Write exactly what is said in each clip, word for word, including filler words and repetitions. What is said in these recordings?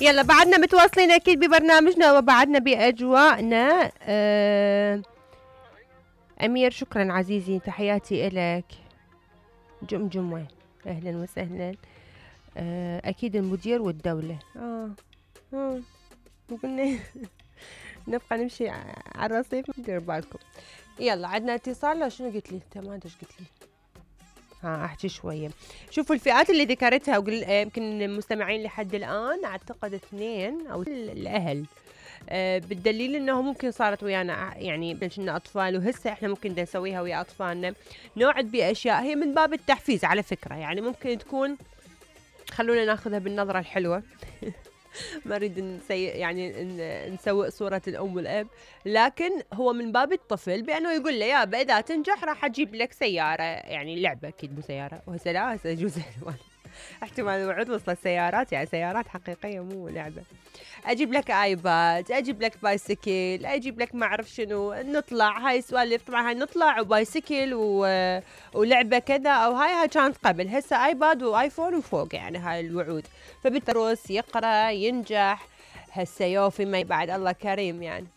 يلا بعدنا متواصلين اكيد ببرنامجنا وبعدنا باجواءنا. أه امير شكرا عزيزي، تحياتي الك. جمجمة اهلا وسهلا. أه اكيد المدير والدولة. اه اه قلنا نبقى نمشي على الرصيف، دير بالكم. يلا عندنا اتصال. لو شنو قلت لي انت؟ ما ادري ايش قلت لي. ها احكي شويه. شوفوا الفئات اللي ذكرتها وقل يمكن المستمعين لحد الان اعتقد اثنين او الاهل. أه بالدليل انه ممكن صارت ويانا يعني كنا اطفال، وهسه احنا ممكن نسويها ويا اطفالنا. نوعد باشياء هي من باب التحفيز على فكره، يعني ممكن تكون، خلونا ناخذها بالنظره الحلوه. ما اريد نسي يعني نسوء صورة الأم والأب، لكن هو من باب الطفل بأنه يقول له يابا إذا تنجح راح أجيب لك سيارة، يعني لعبة أكيد مو سيارة، وهسه لا هسه يجوز احتمال الوعود وصلت سيارات، يعني سيارات حقيقية مو لعبة. اجيب لك ايباد، اجيب لك بايسكل، اجيب لك ما اعرف شنو، نطلع هاي سوالف. طبعا هاي نطلع وبايسكل و... ولعبه كذا او هاي هاي كانت قبل، هسه ايباد وايفون وفوق، يعني هاي الوعود. فبالتروس يقرا ينجح، هسه يوفي ما بعد الله كريم يعني.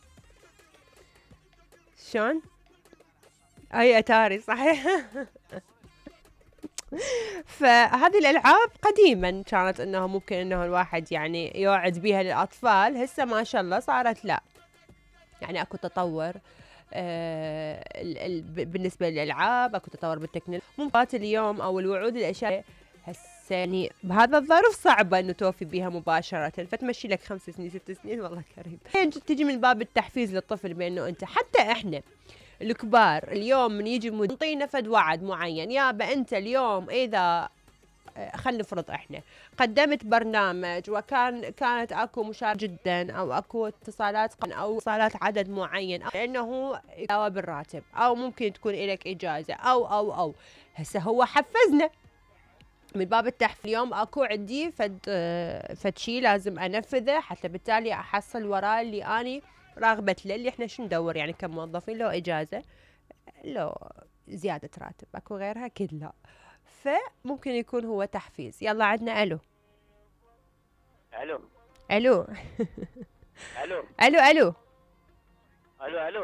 شلون؟ اي اتاري صحيح. فهذه الالعاب قديما كانت انه ممكن انه الواحد يعني يوعد بها للاطفال، هسه ما شاء الله صارت لا، يعني اكو تطور. آه بالنسبه للالعاب اكو تطور بالتكنولوجيا. ممكن اليوم او الوعود الاشياء هسه يعني بهذا الظرف صعبه انه توفي بها مباشره، فتمشي لك خمس سنين ست سنين والله كريم. تجي من باب التحفيز للطفل بانه انت، حتى احنا الكبار اليوم من يجي نعطينا فد وعد معين، يابا انت اليوم اذا خلينا نفرض احنا قدمت برنامج وكان كانت اكو مشاركة جدا او اكو اتصالات او اتصالات عدد معين، او انه يداوى بالراتب، او ممكن تكون لك اجازه او او او هسه هو حفزنا من باب التحفيز. اليوم اكو عندي فد فد شيء لازم انفذه، حتى بالتالي احصل وراه اللي اني راغبت له، اللي احنا شو ندور يعني كموظفين، لو اجازه لو زياده راتب، اكو غيرها اكيد لا. فممكن يكون هو تحفيز. يلا عندنا الو. الو الو. الو الو الو الو الو